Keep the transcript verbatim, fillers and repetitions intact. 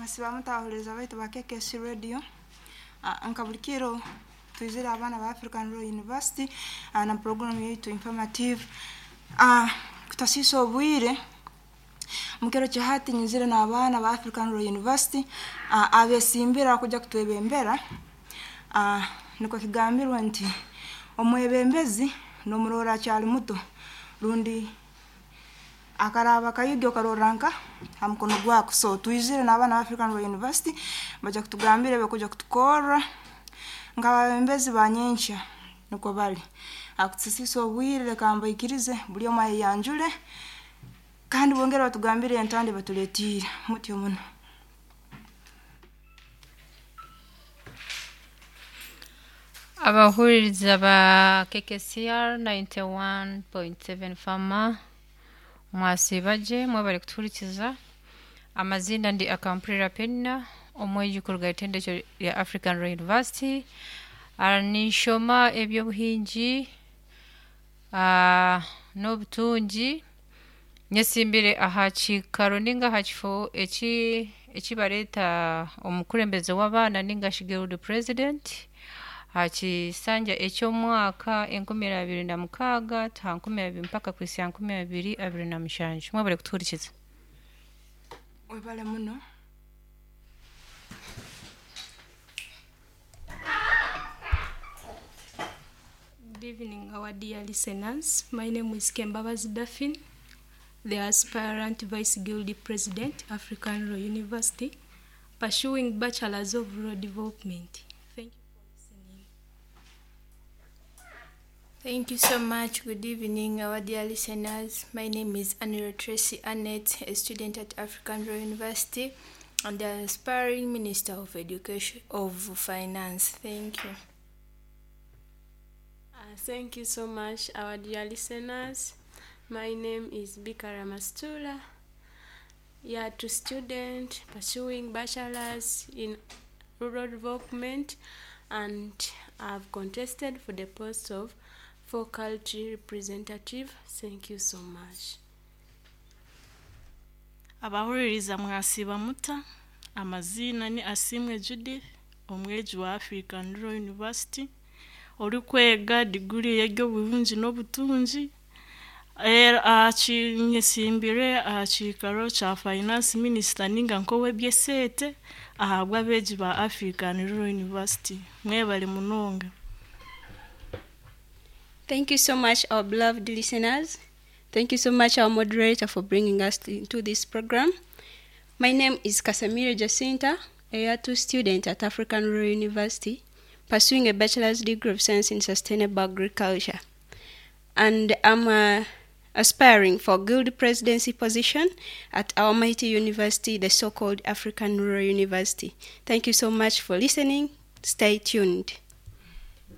Mwasiba mutahuriza baitu ba K K C Radio. Ah, nka buli kiro twizire abaana ba African Rural University ah, na program yaitu informative. Ah, kutasiisa obwire, mukiro kihati nyizire n'abaana ba African Rural University ah, abesimbira kujja kutwebembera. Ah, nikwo kigambirwe nti omwebembezi nomurora akyali muto, rundi akaraba kayigi okarora nka ha mukono gwako. So twizire n'abaana ba African Rural University, bajja kutugambira ebyokuja kutukorra nk'abebembezi ba nyenkya. Nikwo bali akutusisiisa obwire, leka mbaikirize buli omu ayeyanjule kandi bongere batugambire entanda batuleetiire mutyo muno. Abahuririza ba K K C R ninety-one point seven Fama, mwasiiba gye, mwebale kutuhurikiza. Amazina ndi Akampurira Penina, omwegi kuruga itendekero rya African Rural University. Ah, ninshoma ebyobuhingi ah, n'obutungi. Nyesimbire aha kiikaro ninga aha kifo eki ekibareeta omukurembeze w'abaana ninga shi guild president aha kisanja eky'omwaka enkumi abiri na mukaaga ha nkumi abiri mpaka kuhitsya nkumi abiri abiri na mushanju. Mwebale kutuhurikiza. Webale muno. Good evening, our dear listeners. My name is Kembabazi Daphine, the aspirant Vice Guild President, African Rural University, pursuing Bachelor's of Rural Development. Thank you for listening. Thank you so much. Good evening, our dear listeners. My name is Anira Tracy Annette, a student at African Rural University and the aspiring Minister of Education of Finance. Thank you. Uh, thank you so much, our dear listeners. My name is Bikara Mastula, year two student pursuing bachelor's in rural development, and I've contested for the post of faculty representative. Thank you so much. Abahuririza, mwasiba muta? Amazina ni Asimwe Judith, omwegi wa African Rural University, orikwega diguri y'eby'obuhingi n'obutungi. Era nyesimbire aha kiikaro kya finance minister ninga nk'ow'ebyesente ahabw'abeegi ba African Rural University. Mwebale munonga. Thank you so much, our beloved listeners. Thank you so much, our moderator, for bringing us to, into this program. My name is Casamira Jacinta, a year two student at African Rural University, pursuing a bachelor's degree of science in sustainable agriculture. And I'm uh, aspiring for guild presidency position at our mighty university, the so-called African Rural University. Thank you so much for listening. Stay tuned.